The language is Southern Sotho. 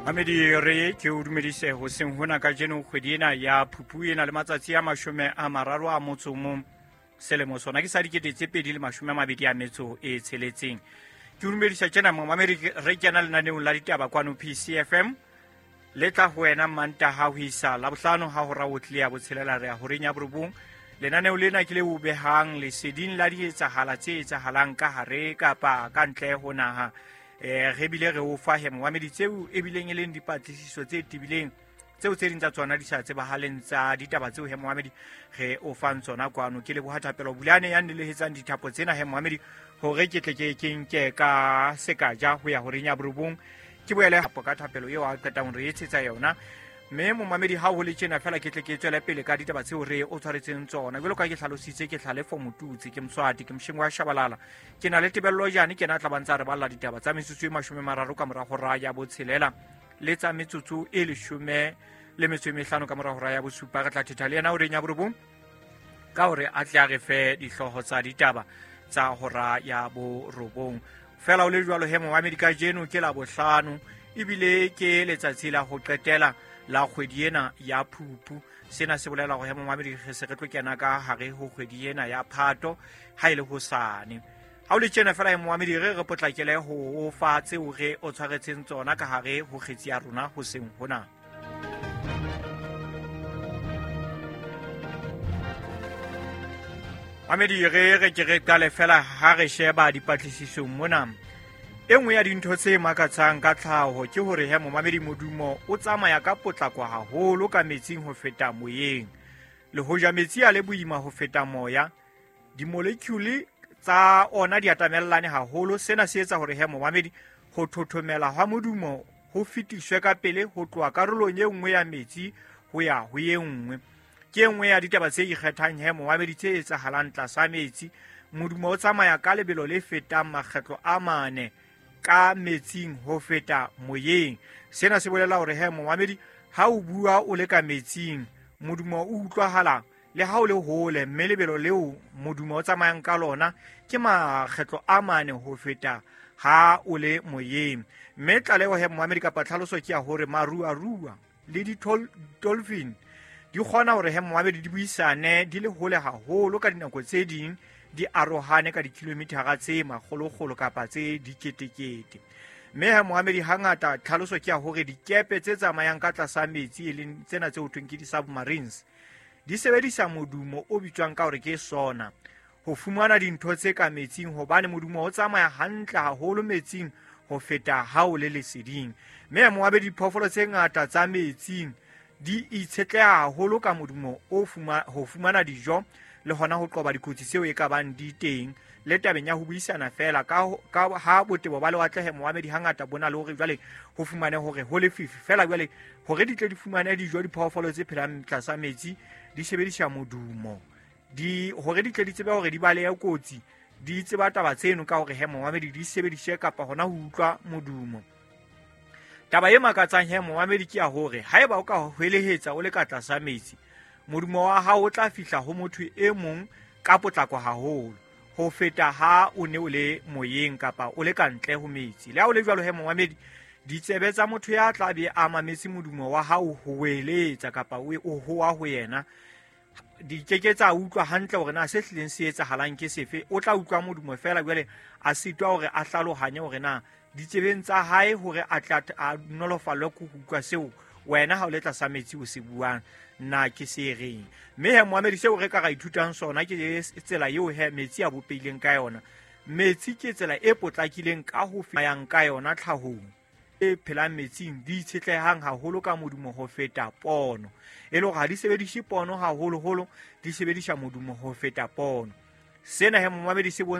Mamedi, re ke o dumedise hoseng hona kajeno. Kgwedi ena ya Phupu e na le matsatsi a 31, selemo sona ke sa 2026. Ke o dumedisa tjena, momamedi. Re kena lenaneong la ditaba kwano PCFM, le tla ho wena Mantaha ho isa Labohlano ha hora o tlile ya 6, re ya horeng ya 9. Lenaneo lena ke le o behang leseding la dietsahala tse etsahalang ka hare kapa ka ntle ho naha. Re bile re o fa he, momamedi, tseo ebileng e leng dipatlisiso tse tebileng, tseo tse ding tsa tsona di sa tsebahaleng tsa ditaba tseo he, momamedi, re o fang tsona kwano. Ke leboha Thapelo Bulane ya nnelehetsang dithapo tsena he, momamedi, hore ke tle ke nke ka sekaja ho ya horeng ya 9, ke boele hapo ka thapelo eo a qetang re etsetsa yona. Mme momamedi, ha ho le tjena fela, ke tle ke tswele pele ka ditaba tseo re o tshwaretseng tsona. Jwalo ka ke hlalositse, ke Tlhalefo Motutsi, ke Moswati, ke mosheng wa Shabalala, ke na le Tebello Jane, ke na tla bantsa re balla ditaba tsa metsotso e 30 ka mora hora ya 6, le tsa metsotso e 15 ka mora hora ya 7. Re tla thetha le yena horeng ya 9 ka hore a tle a re fe dihlooho tsa ditaba tsa hora ya 9. Fela o le jwalo he, momamedi, kajeno ke la bohlano, ebile ke letsatsi la ho qetela la kgwedi ena ya Phupu. Sena se bolela hore he, momamedi, re se re tlo kena ka hare ho kgwedi ena ya Phato ha e le hosane. Ha o le tjena fela he, momamedi, re potlakele ho o fa tseo re o tshwaretseng tsona ka hare ho kgetsi ya rona hoseng hona. Mamedi, re ke re qale fela ha re sheba dipatlisisong mona. E nngwe ya dintho tse makatsang ka tlhaho ke hore he, momamedi, modumo o tsamaya ka potlako haholo ka metsing ho feta moyeng. Le hoja metsi a le boima ho feta moya, di-molecule tsa ona di atamellane haholo. Sena se etsa hore he, momamedi, ho thothomela hwa modumo ho fetiswe ka pele ho tloha karolong e nngwe ya metsi ho ya ho e nngwe. Ke e nngwe ya ditaba tse ikgethang he, momamedi, tse etsahalang tlasa metsi. Modumo o tsamaya ka lebelo le fetang makgetlo a 4 ka metsing ho feta moyeng. Sena se bolela hore he, momamedi, ha o bua o le ka metsing, modumo o utlwahala le ha o le hole, mme lebelo leo modumo o tsamayang ka lona ke makgetlo a 4 ho feta ha o le moyeng. Mme tlaleho he, momamedi, kapa tlhaloso ke ya hore maruarua le di-dolphin di kgona hore he, momamedi, di buisane di le hole haholo, ka dinako tse ding di arohane ka dikilomitara tse makgolokgolo kapa tse diketekete. Mme he, momamedi, hangata tlhaloso ke ya hore dikepe tse tsamayang ka tlasa metsi, e leng tsena tse ho thweng ke di-submarines, di sebedisa modumo o bitswang ka hore ke sonar ho fumana dintho tse ka metsing, hobane modumo o tsamaya hantle haholo metsing ho feta ha o le leseding. Mme momamedi, diphoofolo tse ngata tsa metsing di itshetleha haholo ka modumo o ho fumana dijo le hona ho qoba dikotsi tseo e ka bang di teng, le tabeng ya ho buisana fela. Ka ha botebo ba lewatle he, momamedi, hangata bo na le hore jwale ho fumane hore ho lefifi fela, jwale hore di tle di fumane dijo, diphoofolo tse phelang tlasa metsi di sebedisa modumo di hore di tle di tsebe hore di balehe kotsi. Di tseba taba tseno ka hore he, momamedi, di sebedise kapa hona ho utlwa modumo. Taba e makatsang he, momamedi, ke ya hore haeba o ka hwelehetsa o le ka tlasa metsi, modumo wa hao o tla fihla ho motho e mong ka potlako haholo ho feta ha o ne o le moyeng kapa o le ka ntle ho metsi. Le ha o le jwalo he, momamedi, ditsebe tsa motho ya tla be a mametse modumo wa hao ho weletsa kapa o hoa ho yena di keke tsa utlwa hantle hore na se hlileng se etsahalang ke sefe. O tla utlwa modumo fela, jwale a sitwa hore a hlalohanye hore na ditsebeng tsa hae hore a tla a nolofallwe ke ho utlwa seo wena ha o le tlasa metsi o se buang na ke se reng. Mme he, momamedi, seo re ka ra ithutang sona ke tsela eo he metsi a bopehileng ka yona. Metsi ke tsela e potlakileng ka ho yang ka yona tlhahong e phelang metsing di itshetlehang haholo ka modumo ho feta pono, e le hore ha di sebedise pono haholoholo, di sebedisa modumo ho feta pono. Sena he, momamedi, se